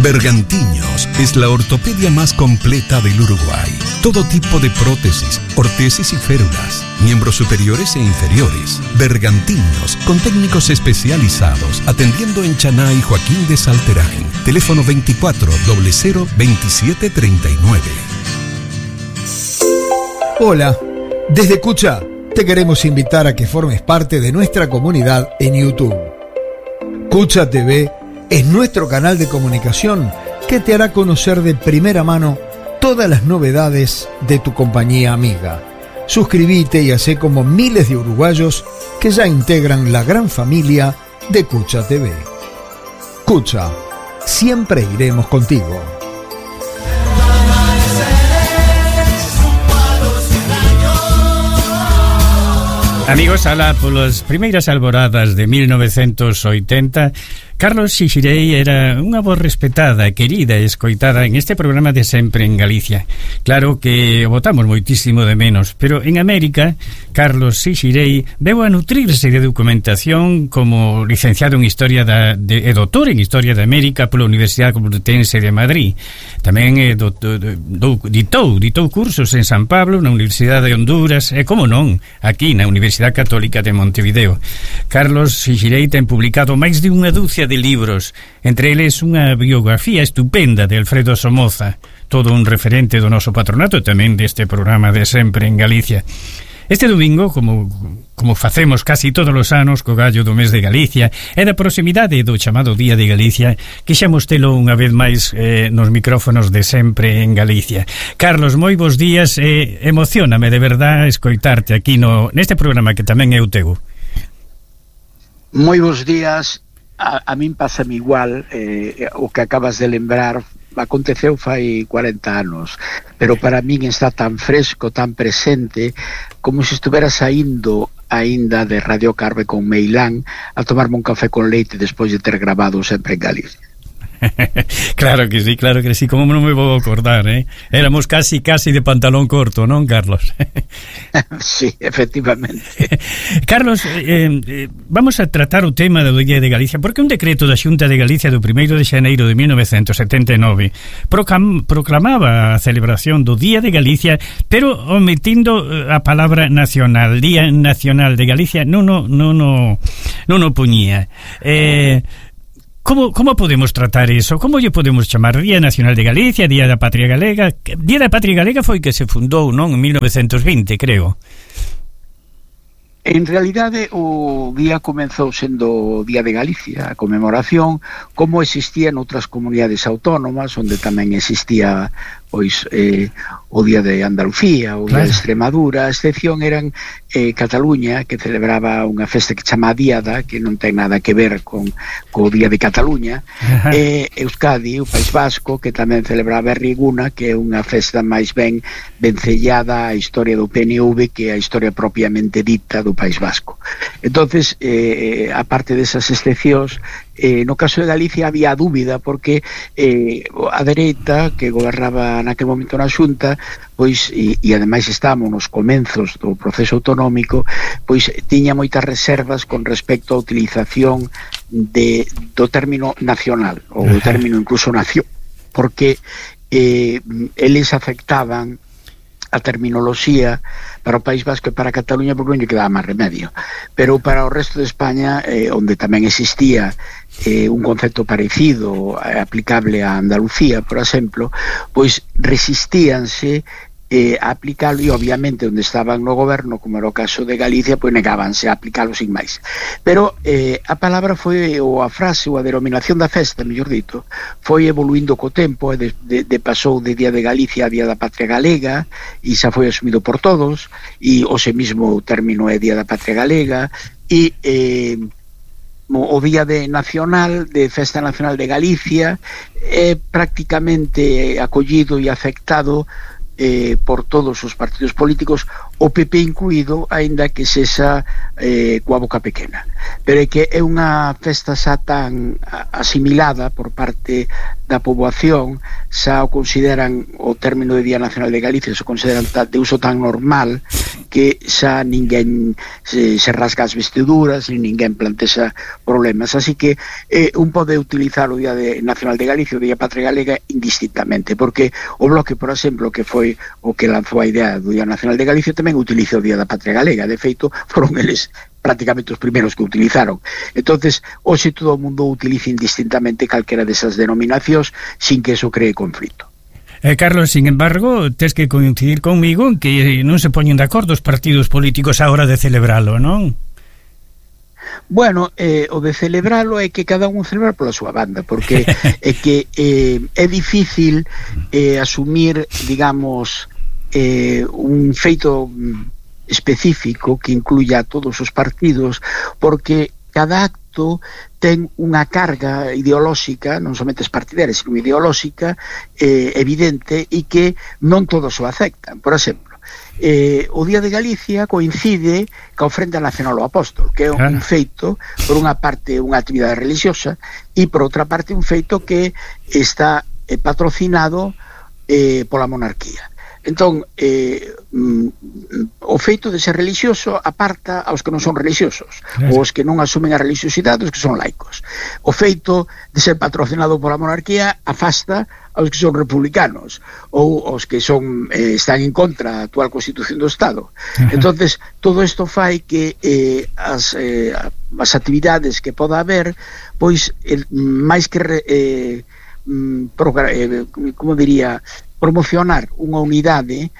Bergantiños es la ortopedia más completa del Uruguay. Todo tipo de prótesis, ortesis y férulas, miembros superiores e inferiores. Bergantiños, con técnicos especializados, atendiendo en Chaná y Joaquín de Salterain. Teléfono 24 00 27 39. Hola, desde Cucha te queremos invitar a que formes parte de nuestra comunidad en YouTube. Cucha TV es nuestro canal de comunicación que te hará conocer de primera mano todas las novedades de tu compañía amiga. Suscríbete y hacé como miles de uruguayos que ya integran la gran familia de Cucha TV. Cucha, siempre iremos contigo. Amigos, alá polas primeiras alboradas de 1980, Carlos Xixirei era unha voz respetada, querida e escoitada en este programa de Sempre en Galicia. Claro que o botamos moitísimo de menos, pero en América, Carlos Xixirei veu a nutrirse de documentación como licenciado en Historia e doutor en Historia de América pola Universidade Complutense de Madrid. Tamén ditou cursos en San Pablo, na Universidade de Honduras e, como non, aquí na Universidade Católica de Montevideo. Carlos Xixirei ten publicado máis de unha dúcia de libros, entre eles unha biografía estupenda de Alfredo Somoza, todo un referente do noso patronato e tamén deste programa de Sempre en Galicia. Este domingo, como facemos casi todos os anos co gallo do mes de Galicia e da proximidade do chamado Día de Galicia, quixemos telo unha vez máis nos micrófonos de Sempre en Galicia. Carlos, moi bons días, emocióname de verdad escoitarte aquí neste programa que tamén é o teu. Moi bons días. A min pásame igual, o que acabas de lembrar aconteceu fai 40 anos, pero para min está tan fresco, tan presente, como se estuvera saindo aínda de Radio Carve con Meilán a tomarme un café con leite despois de ter grabado Sempre en Galicia. Claro que sí, como non me vou acordar, Éramos casi de pantalón corto, non, Carlos? Sí, efectivamente. Carlos, vamos a tratar o tema do Día de Galicia, porque un decreto da Xunta de Galicia do 1º de xaneiro de 1979 proclamaba a celebración do Día de Galicia, pero omitindo a palabra nacional. Día Nacional de Galicia non o poñía. Como podemos tratar eso? Como lle podemos chamar? Día Nacional de Galicia, Día da Patria Galega? Día da Patria Galega foi que se fundou, non? En 1920, creo. En realidade, o día comenzou sendo o Día de Galicia, a conmemoración, como existía en outras comunidades autónomas, onde tamén existía pois o Día de Andalucía, o Día de Extremadura. A excepción eran Cataluña, que celebraba unha festa que chama Diada, que non ten nada que ver co Día de Cataluña, e Euskadi, o País Vasco, que tamén celebraba Riguna, que é unha festa máis ben vencellada á historia do PNV que a historia propiamente dita do País Vasco. Entonces, aparte desas excepcións, no caso de Galicia había dúbida porque a dereita que gobernaba naquele momento na Xunta, pois, e ademais estábamos nos comenzos do proceso autonómico, pois tiña moitas reservas con respecto á utilización do término nacional, ou do término incluso nación, porque eles afectaban a terminoloxía para o País Vasco e para Cataluña porque non lle quedaba máis remedio, pero para o resto de España, onde tamén existía un concepto parecido aplicable a Andalucía, por exemplo, pois resistíanse a aplicalo, e obviamente onde estaban no goberno, como era o caso de Galicia, pois negábanse a aplicalo sin máis. Pero a palabra foi, ou a frase, ou a denominación da festa, mellor dito, foi evoluindo co tempo, e pasou de Día de Galicia a Día da Patria Galega, e xa foi asumido por todos, e hoxe mismo o término é Día da Patria Galega, e o Día de Nacional, de Festa Nacional de Galicia, é prácticamente acollido e aceptado por todos os partidos políticos, o PP incluído, aínda que sexa coa boca pequena. Pero é que é unha festa xa tan asimilada por parte da poboación, xa o consideran, o término de Día Nacional de Galicia, se consideran de uso tan normal que xa ninguén se rasga as vestiduras, nin ninguén plantexa problemas, así que un pode utilizar o Día Nacional de Galicia, o Día Patria Galega indistintamente, porque o Bloque, por exemplo, que foi o que lanzou a idea do Día Nacional de Galicia, tamén utiliza o Día da Patria Galega. De feito, foron eles prácticamente os primeiros que utilizaron. Entonces, hoxe todo o mundo utiliza indistintamente calquera desas denominacións sin que eso cree conflito. Carlos, sin embargo, tes que coincidir conmigo en que non se poñen de acordo os partidos políticos á hora de celebralo, non? Bueno, o de celebralo é que cada un celebra pola súa banda, porque é que é difícil asumir, digamos, un feito específico que incluya a todos os partidos, porque cada acto ten unha carga ideolóxica, non somente partidaria, sino ideolóxica, evidente, e que non todos o aceptan. Por exemplo, o Día de Galicia coincide ca ofrenda nacional ao apóstol, que é un feito, por unha parte unha actividade religiosa, e por outra parte un feito que está patrocinado pola monarquía. Entón, o feito de ser religioso aparta aos que non son religiosos, ou os que non asumen a religiosidade, os que son laicos. O feito de ser patrocinado pola monarquía afasta aos que son republicanos, ou aos que son están en contra da actual Constitución do Estado. Entonces, todo isto fai que as actividades que poda haber, pois, máis que como diría, promocionar unha unidade,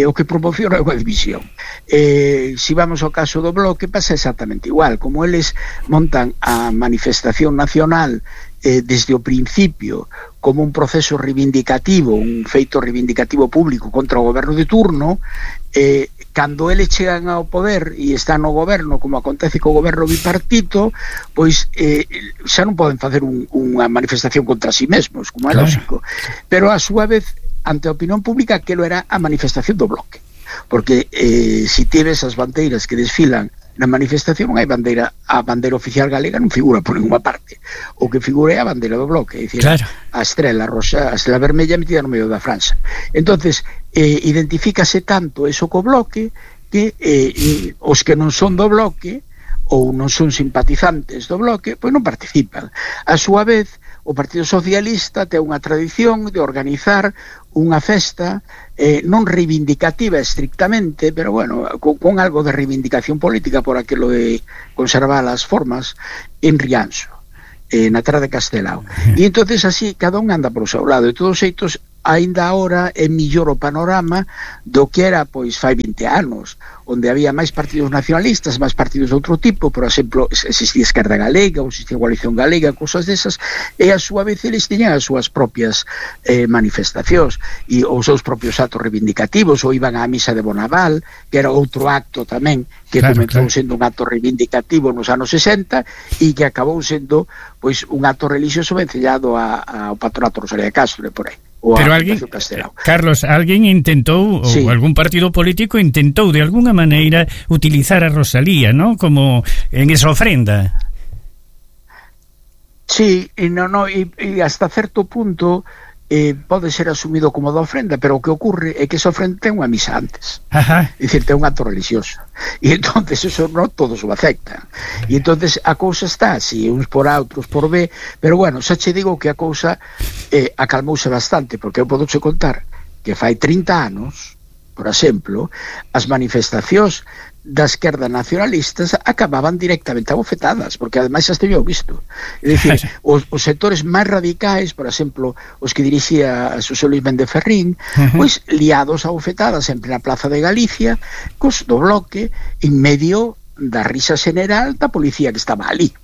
o que promociona é unha división. Si vamos ao caso do Bloque, pasa exactamente igual. Como eles montan a manifestación nacional desde o principio como un proceso reivindicativo, un feito reivindicativo público contra o goberno de turno, cando eles chegan ao poder e están no goberno, como acontece co goberno bipartito, pois xa non poden facer unha manifestación contra si mesmos, como é lógico, pero a súa vez ante a opinión pública aquilo era a manifestación do Bloque, porque se tives as bandeiras que desfilan na manifestación, non hai bandeira, a bandeira oficial galega non figura por ninguna parte, o que figura é a bandeira do Bloque, é dicir, a estrela roxa, a estrela vermella metida no medio da franxa. Entonces, identifícase tanto eso co Bloque que os que non son do Bloque ou non son simpatizantes do Bloque, pois non participan. A súa vez, o Partido Socialista ten unha tradición de organizar unha festa non reivindicativa estrictamente, pero bueno, con algo de reivindicación política por aquilo de conservar as formas en Rianxo, na terra de Castelao. E entonces así cada un anda por o seu lado, e todos xeitos aínda agora é millor o panorama do que era pois fai 20 anos, onde había máis partidos nacionalistas, máis partidos de outro tipo, por exemplo, existía Esquerda Galega, ou existía Coalición Galega, cousas desas, e a súa vez eles tiñan as súas propias manifestacións e os seus propios actos reivindicativos, ou iban á misa de Bonaval, que era outro acto tamén que comenzou sendo un acto reivindicativo nos anos 60 e que acabou sendo pois un acto religioso vencellado ao patronato Rosalía de Castro, por aí. Pero alguén, Carlos, alguén intentou, ou algún partido político intentou de alguna maneira utilizar a Rosalía, ¿no? Como en esa ofrenda. Sí, e hasta certo punto pode ser asumido como da ofrenda, pero o que ocurre é que esa ofrenda ten unha misa antes. É dicir, ten un acto religioso. E entonces eso non todos o aceptan. E entonces a cousa está así, uns por A, outros por B, pero bueno, xa che digo que a cousa acalmouse bastante, porque eu podo che contar que fai 30 anos, por exemplo, as manifestacións da esquerda nacionalistas acababan directamente abofetadas, porque ademais xa esteño visto. É dicir, os sectores máis radicais, por exemplo, os que dirixía Xosé Luis Méndez Ferrín, pois liados abofetadas en plena Plaza de Galicia, cos do Bloque, en medio da risa general da policía que estaba ali.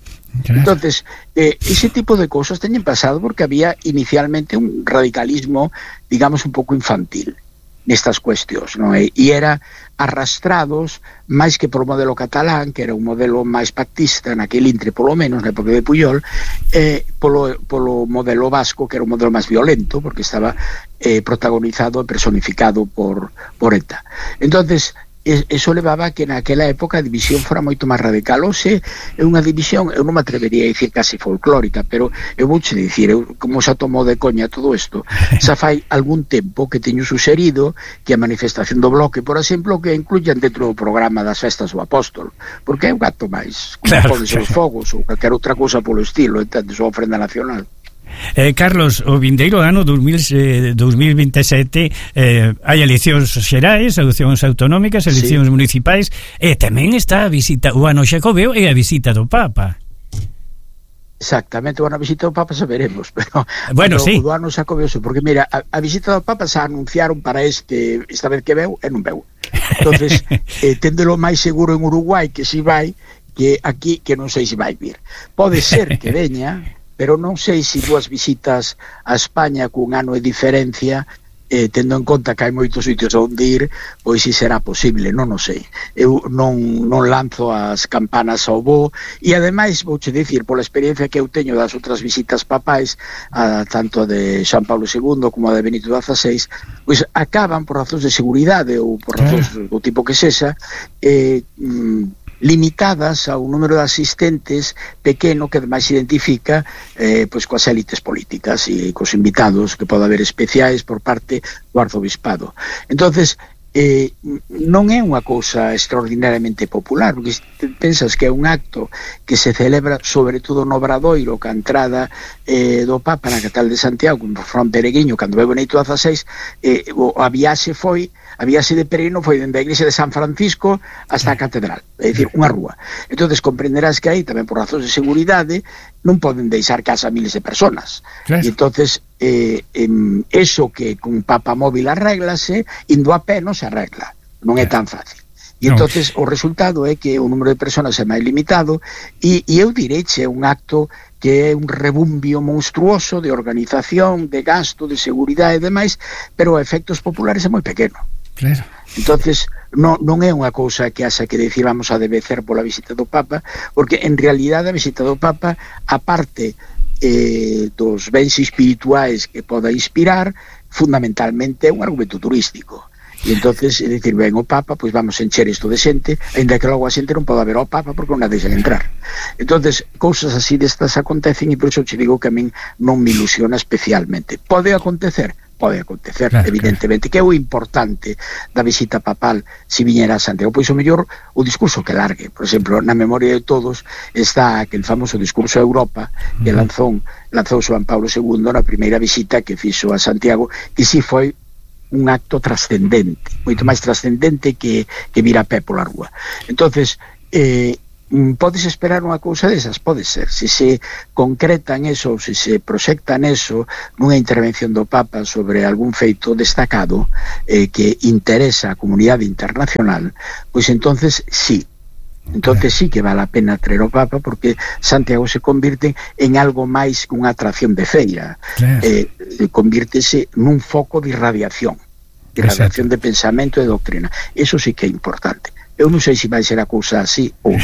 Entonces, ese tipo de cosas teñen pasado porque había inicialmente un radicalismo, digamos, un pouco infantil nestas cuestións, non é? E era arrastrados máis que por o modelo catalán, que era un modelo máis pactista naquele intre, polo menos na época de Pujol, polo modelo vasco, que era un modelo máis violento, porque estaba protagonizado e personificado por ETA. Entonces, eso levaba a que naquela época a división fora moito máis radical. Hoxe é unha división, eu non me atrevería a dicir casi folclórica, pero eu vouche dicir, como xa tomou de coña todo isto, xa fai algún tempo que teño suxerido que a manifestación do Bloque, por exemplo, que incluyan dentro do programa das festas do Apóstol, porque é un acto máis, como pode ser os fogos ou calquer outra cousa polo estilo, entendes, ou ofrenda nacional. Carlos, o vindeiro ano 2027 hai eleccións xerais, eleccións autonómicas, eleccións municipais, e tamén está a visita, o ano xacobeo e a visita do Papa. Exactamente, o ano visita do Papa saberemos, pero bueno, sí. O do ano xacobeo, porque mira, a visita do Papa se anunciaron para esta vez que veu e non veu. Entonces, téndelo máis seguro en Uruguai que si vai, que aquí que non sei se vai vir. Pode ser que veña, pero non sei se dúas visitas a España cun ano de diferencia, tendo en conta que hai moitos sitios onde ir, pois si será posible, non o sei. Eu non lanzo as campanas ao voo, e ademais vouche dicir, pola experiencia que eu teño das outras visitas papais, tanto de San Pablo II como a de Benito XVI, pois acaban por razóns de seguridade ou por razóns do tipo que sexa, limitadas a un número de asistentes pequeno que ademais se identifica pois coas élites políticas e cos invitados que pode haber especiais por parte do arzobispado. Entonces, non é unha cousa extraordinariamente popular, porque pensas que é un acto que se celebra sobre todo no Obradoiro, ca entrada do Papa na capital de Santiago, como Fran Pereguiño, cando veu Benito XVI, a viaxe de peregrino foi dende a igrexa de San Francisco hasta a catedral, é dicir, unha rúa. Entonces comprenderás que aí tamén por razóns de seguridade non poden deixar casa miles de personas. E entonces eso que con Papa móvil arréglase, indo a pé non se arregla, non é tan fácil. E entonces o resultado é que o número de personas é máis limitado, e eu direiche un acto que é un rebumbio monstruoso de organización, de gasto, de seguridade e demais, pero a efectos populares é moi pequeno. Claro. Entonces non é unha cousa que haxa que decir vamos a debecer pola visita do Papa, porque en realidade a visita do Papa, aparte dos bens espirituais que poda inspirar, fundamentalmente é un argumento turístico. E entonces, é dicir, ven o Papa, pois vamos encher isto de xente, ainda que logo a xente non pode haber ao Papa porque non a deixan entrar. Entonces, cousas así destas acontecen, e por iso te digo que a min non me ilusiona especialmente. Pode acontecer, claro, evidentemente, claro. Que é o importante da visita papal se viñera a Santiago, pois o mellor o discurso que largue. Por exemplo, na memoria de todos está aquel famoso discurso a Europa que lanzou Juan Pablo II na primeira visita que fixo a Santiago, que si foi un acto trascendente, moito máis trascendente que vir a pé pola rúa. Entonces, podes esperar unha cousa desas? Pode ser. Se se concreta en eso, se se proxecta en eso, nunha intervención do Papa sobre algún feito destacado que interesa a comunidade internacional, pois entonces sí. Entonces sí que vale a pena traer o Papa, porque Santiago se convirte en algo máis que unha atracción de feira. Convírtese nun foco de irradiación de pensamento e doctrina. Eso sí que é importante. Eu non sei se vai ser a cousa así ou